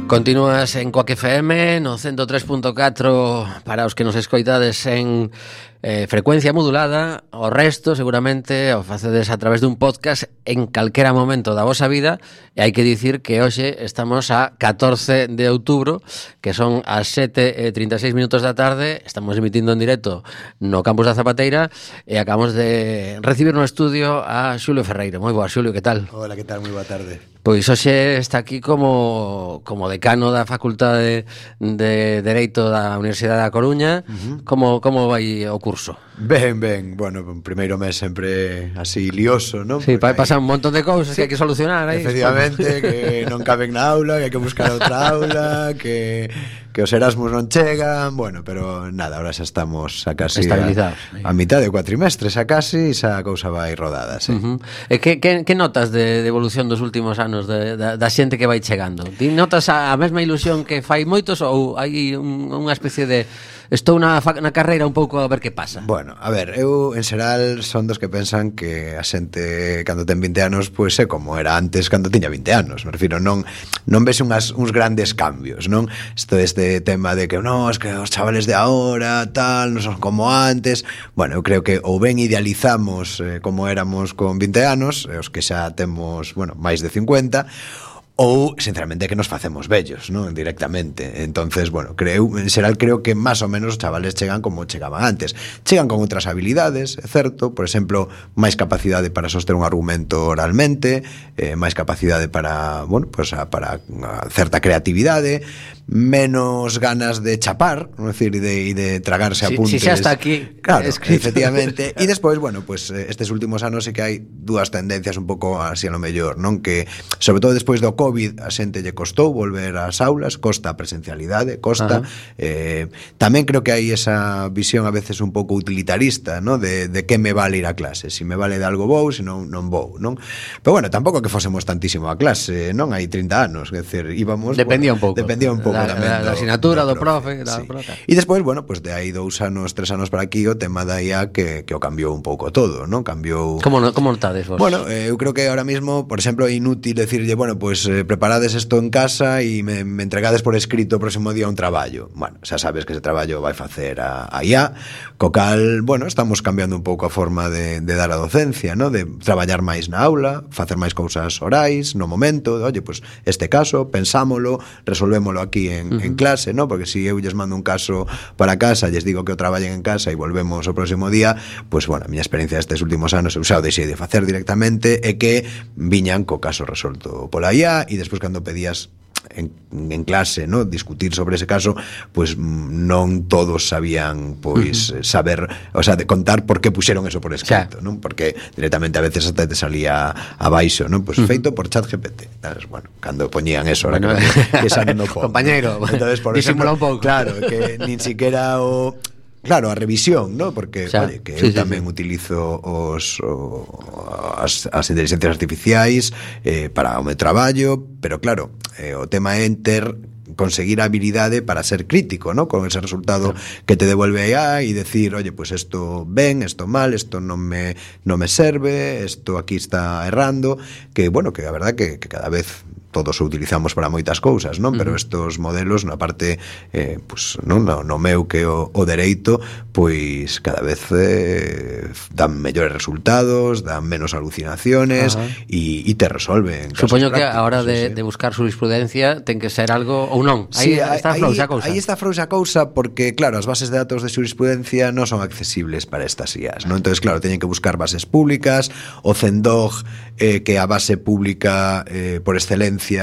Continúas en Coac FM no 103.4 para os que nos escoitades en frecuencia modulada. O resto seguramente o facedes a través dun podcast en calquera momento da vosa vida. E hai que dicir que hoxe estamos a 14 de outubro, que son as 7:36 minutos da tarde. Estamos emitindo en directo no campus da Zapateira e acabamos de recibir no estudio a Xulio Ferreiro. Moi boa, Xulio, que tal? Hola, que tal? Moi boa tarde. Pois hoxe está aquí como decano da Facultade de Dereito da Universidade da Coruña. Como vai o curso? Ben, bueno, un primeiro mes sempre así lioso, non? Sí, pasan un montón de cousas que hai que solucionar aí. Efectivamente, que non caben na aula, que hai que buscar outra aula, que os Erasmus non chegan, bueno, pero nada, ahora xa estamos a casi a mitad de cuatrimestres, a casi, e xa a cousa vai rodada, sí. E que notas de evolución dos últimos anos da xente que vai chegando? Ti notas a mesma ilusión que fai moitos ou hai unha especie de estou na carreira un pouco a ver que pasa? Bueno, a ver, eu en xeral son dos que pensan que a xente cando ten 20 anos pois é como era antes cando tiña 20 anos, me refiro, non ves uns grandes cambios, non? Este tema de que non, es que os chavales de ahora tal, non son como antes. Bueno, eu creo que ou ben idealizamos como éramos con 20 anos, os que xa temos, bueno, máis de 50, ou, sinceramente, que nos facemos vellos, non? Directamente. Entonces, bueno, en xeral creo que máis ou menos os chavales chegan como chegaban antes. Chegan con outras habilidades, é certo, por exemplo, máis capacidade para soster un argumento oralmente, máis capacidade para, bueno, pues para certa creatividade, menos ganas de chapar, non decir, e de tragarse apuntes. Si xa está aquí, claro, efectivamente. E despois, bueno, pues estes últimos anos sí que hai dúas tendencias un pouco así a lo mellor, non? Que, sobre todo despois do COVID, a xente lle costou volver ás aulas, costa a presencialidade, costa. Tamén creo que hai esa visión a veces un pouco utilitarista, ¿no? De que me vale ir a clase, si me vale de algo vou, se non vou, non? Pero bueno, tampouco que fosemos tantísimo a clase, non? Hai 30 anos, é dicir, íbamos... Dependía un pouco da asignatura, do profe, E despois, bueno, pues de aí 2 anos, 3 anos para aquí, o tema da IA que o cambiou un pouco todo, non? Cambiou... Como notades vos? Bueno, eu creo que ahora mismo, por exemplo, é inútil decirlle, bueno, pues preparades isto en casa e me entregades por escrito o próximo día un traballo. Bueno, xa sabes que ese traballo vai facer a IA, co cal, bueno, estamos cambiando un pouco a forma de dar a docencia, ¿no? De traballar máis na aula, facer máis cousas orais, no momento, oye, pues este caso, pensámolo, resolvémolo aquí en clase, ¿no? Porque si eu lles mando un caso para casa, lles digo que o traballen en casa e volvemos o próximo día, pues bueno, a miña experiencia destes últimos anos eu xa o deixei de facer directamente e que viñan co caso resolto pola IA e despois cando pedías en clase, ¿no? Discutir sobre ese caso, pues non todos sabían pois saber, o sea, de contar por que puxeron eso por escrito, ¿no? Porque directamente a veces hasta te salía abaixo, ¿no? Pues feito por ChatGPT. Entonces, bueno, cando poñían eso, ahora que xa non o pon, compañeiro, entonces, por disimula un pouco. Claro, que nin siquiera o... Claro, a revisión, ¿no? Porque, oye, que eu tamén utilizo as inteligencias artificiais para o meu traballo, pero claro, o tema é conseguir a habilidade para ser crítico, ¿no? Con ese resultado que te devuelve a IA e decir, oye, pues esto ben, esto mal, esto non me serve, esto aquí está errando, que, bueno, que a verdad que cada vez todos o utilizamos para moitas cousas, non? Pero estos modelos, na parte pues, no meu que o dereito, pois cada vez dan mellores resultados, dan menos alucinaciones e te resolven. Supoño que a hora de buscar jurisprudencia ten que ser algo ou non. Aí está frouxa a cousa. Aí está frouxa a cousa porque, claro, as bases de datos de jurisprudencia non son accesibles para estas IAs, non? Entonces, claro, teñen que buscar bases públicas, o CENDOG, que é a base pública por excelencia